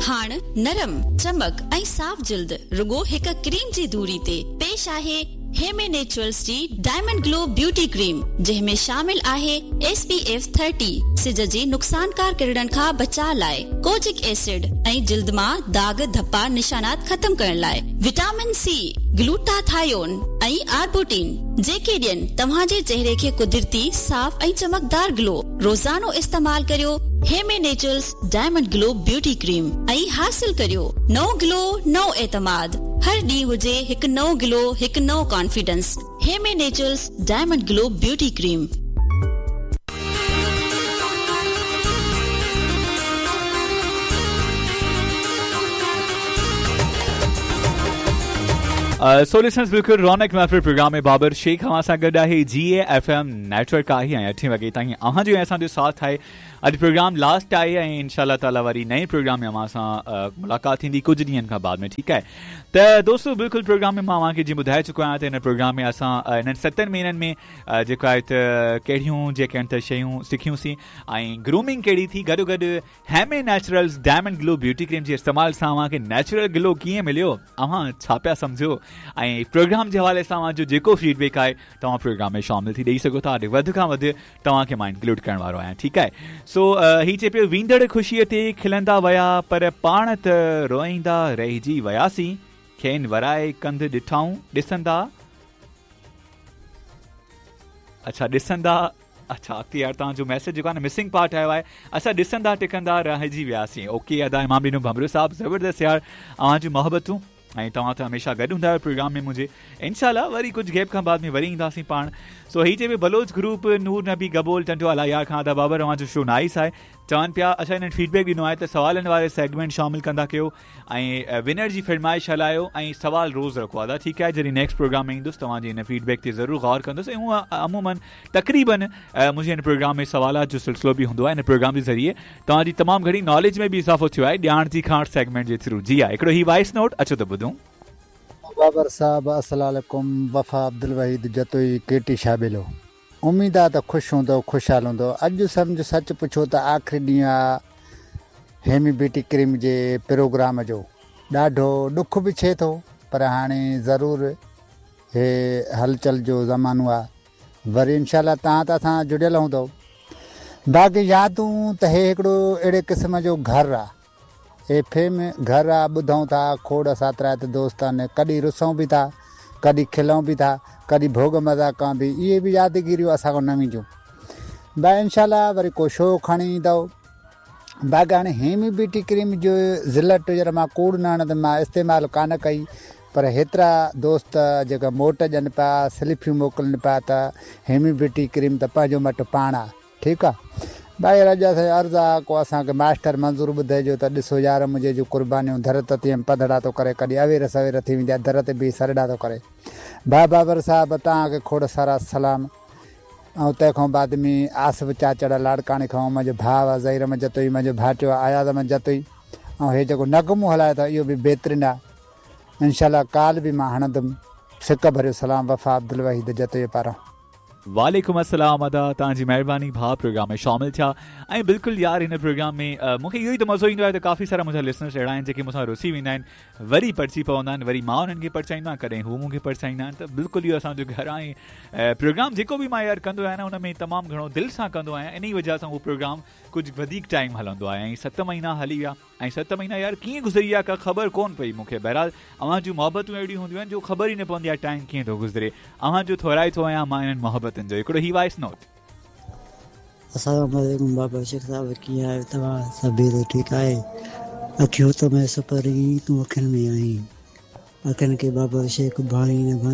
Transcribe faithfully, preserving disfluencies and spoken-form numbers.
هاڻ نرم، چمڪ ۽ صاف جلد رڳو هڪ ڪريم جي دوري تي. پيش آهي هيمي نيچرلز جي ڊائمنڊ گلو بيوٽي ڪريم، جنهن ۾ شامل آهي ايس پي ايف ٿرٽي سج جي نقصانڪار ڪرڻن کان بچاء لاء، ڪوجڪ ايسڊ ۽ جلد مان داغ ڌپا نشانات ختم ڪرڻ لاء، وٽامن سي، گلوٽاٿايون ۽ آربوٽين، جيڪي ڏين توهان جي چهري کي قدرتي صاف ۽ چمڪدار گلو. روزانو استعمال ڪريو hemi naturals diamond glow beauty cream ۽ حاصل ڪريو نئون گلو، نئون اعتماد. هر ڏينهن هجي هڪ نئون گلو، هڪ نئون confidence. Hemi naturals diamond glow beauty cream. So listeners बिल्कुल रौनक महफिल प्रोग्राम में बाबर शेख अवां सां गॾु आहे। जी ए एफ एम नेटवर्क आहे ऐं अठे वॻे ताईं अव्हां जो ऐं असांजो साथ आहे। अॼु प्रोग्राम लास्ट आहे ऐं इनशा ताला वरी नए प्रोग्राम में अव्हां सां मुलाक़ात थींदी कुझु ॾींहंनि खां बाद में, ठीकु आहे। त दोस्तो बिल्कुलु प्रोग्राम में मां अव्हांखे जीअं ॿुधाए चुको आहियां त हिन प्रोग्राम में असां हिननि सतनि महीननि में जेको आहे त कहिड़ियूं जेके आहिनि त शयूं सिखियूंसीं ऐं ग्रूमिंग कहिड़ी थी, गॾो गॾु हेमे naturals diamond glow beauty cream जे इस्तेमाल सां अव्हांखे नेचुरल ग्लो कीअं मिलियो, अव्हां छा पिया सम्झो ऐं प्रोग्राम जे हवाले सां अव्हांजो जेको फीडबैक आहे तव्हां प्रोग्राम में शामिल थी ॾेई सघो था। वधि खां वधि तव्हांखे मां इंक्लूड करण वारो आहियां, ठीकु आहे। सो हीअ चए पियो वेंदड़ ख़ुशीअ ते खिलंदा विया पर पाण त रोईंदा रहिजी वियासीं, खेनि वराए कंध ॾिठाऊं ॾिसंदा, अच्छा ॾिसंदा, अच्छा अॻिते यार तव्हांजो मैसेज जेको आहे न मिसिंग पार्ट आयो आहे, असां ॾिसंदा टिकंदा रहिजी वियासीं। ओके अदा इमाम ॾिनो भमरो साहिबु, ज़बरदस्त यार अव्हां जूं मोहबतूं ऐं तव्हां त हमेशा गॾु हूंदा आहियो प्रोग्राम में मुंहिंजे। इनशा वरी कुझु गैप खां बाद में वरी ईंदासीं पाण। सो हीअ चए बलोच ग्रुप नूर नबी गबोल टंडो अलायार खां अदा बाबर अव्हांजो शो नाइस आहे। चवनि पिया अच्छा हिननि फीडबैक ॾिनो आहे त सवालनि वारे सेगमेंट शामिल कंदा कयो ऐं विनर जी फरमाइश हलायो ऐं सवाल रोज़ रखो अदा, ठीकु आहे। जॾहिं नेक्स्ट प्रोग्राम में ईंदुसि तव्हांजी हिन फीडबैक ते ज़रूरु गौर कंदुसि ऐं हूअं अमूमन तक़रीबन मुंहिंजे हिन प्रोग्राम में सवालात जो सिलसिलो बि हूंदो आहे। हिन प्रोग्राम जे ज़रिए तव्हांजी तमामु घणी नॉलेज में बि इज़ाफ़ो थियो आहे ॼाण जी खांट सेगमेंट जे थ्रू। जी हा, हिकिड़ो हीउ वॉइस नोट अचो त ॿुधूं। बाबर साहब अस्सलाम वालेकुम, वफ़ा अब्दुल वहीद जतोई केटी शाबिलो। उम्मीद आहे त ख़ुशि हूंदो ख़ुशहाल हूंदो। अॼु सम्झ सच पुछो त आख़िरी ॾींहुं आहे हेमी ब्यूटी क्रीम जे प्रोग्राम जो। ॾाढो ॾुख बि थिए थो पर हाणे ज़रूरु हे हलचल जो ज़मानो आहे, वरी इनशा तव्हां त असां जुड़ियल हूंदो। बाक़ी यादूं त हे हिकिड़ो अहिड़े क़िस्म जो घर आहे, एफ एम घर आहे, ॿुधूं था खोड़ सातरा त दोस्त आहिनि, कॾहिं रुसूं बि था, कॾहिं खिलूं बि था, कॾहिं भोग मज़ा कयूं बि, इहे बि यादगिरियूं असां खां न वेंदियूं। भाई इनशा वरी को शो खणी ईंदव। बाक़ी हाणे हेमी ब्यूटी क्रीम जो ज़िलट ॼरा मां कूड़ न हणंदमि, मां इस्तेमालु कान कई, पर हेतिरा दोस्त जेका मोट ॾियनि पिया, स्लिपियूं मोकिलिनि पिया त हेमी ब्यूटी क्रीम त पंहिंजो मटि पाण आहे, ठीकु आहे। भाई अॼु असांजो अर्ज़ु आहे को असांखे मास्टर मंज़ूर ॿुधाइजो त ॾिसो यार मुंहिंजे जूं क़ुर्बानियूं दर त तीअं पधड़ा थो करे, कॾहिं अवेर सवेर थी वेंदी आहे, दर ते बीह सरड़ा थो करे। भाउ बाबर साहिबु तव्हांखे खोड़ सारा सलाम। ऐं तंहिंखां बाद में आसिफ़ चाचड़ लाड़काणे खां मुंहिंजो भाउ आहे ज़हीर अहमद जतोई, मुंहिंजो भाटियो आहे अयाज़ अहमद जतोई, ऐं हे जेको नगमो हलाए थो इहो बि बहितरीनु आहे। इनशा काल बि मां हणंदुमि। सिक भरियो सलाम वफ़ा अब्दुल वहीद जतोई पारां। वालेकुम अस्सलाम अदा, तव्हांजी महिरबानी भाउ प्रोग्राम में शामिल थिया। ऐं बिल्कुलु यार हिन प्रोग्राम में मूंखे इहो ई त मज़ो ईंदो आहे त काफ़ी सारा मुंहिंजा लिसनर्स अहिड़ा आहिनि जेके मूंसां रुसी वेंदा आहिनि, वरी परची पवंदा आहिनि, वरी मां उन्हनि खे परचाईंदो आहियाँ, कॾहिं हू मूंखे परचाईंदा आहिनि। त बिल्कुलु इहो असांजो घर आहे ऐं प्रोग्राम जेको बि मां यार कंदो आहियाँ न उन में तमामु घणो दिलि सां कंदो आहियाँ, इन ई वजह सां उहो प्रोग्राम कुझु वधीक टाइम हलंदो आहे। ऐं सत महीना हली विया ऐं सत महीना यार कीअं गुज़री विया का ख़बर कोन पई मूंखे। बहरहाल अव्हां जूं मोहबतूं अहिड़ियूं हूंदियूं आहिनि जो ख़बर ई न पवंदी आहे टाइम कीअं थो गुज़रे। अव्हां जो थोराइतो आहियाँ मां इन्हनि मोहबतुनि जो। हिकिड़ो ही वॉइस नोट। अस्सलाम वालेकुम बाबा शेख साहब, कीअं आहियो तव्हां? सभु ठीकु आहे? अखियूं त में सपरी तूं अखियुनि में आहीं, अखियुनि खे बाबा शेख भाई न भाई।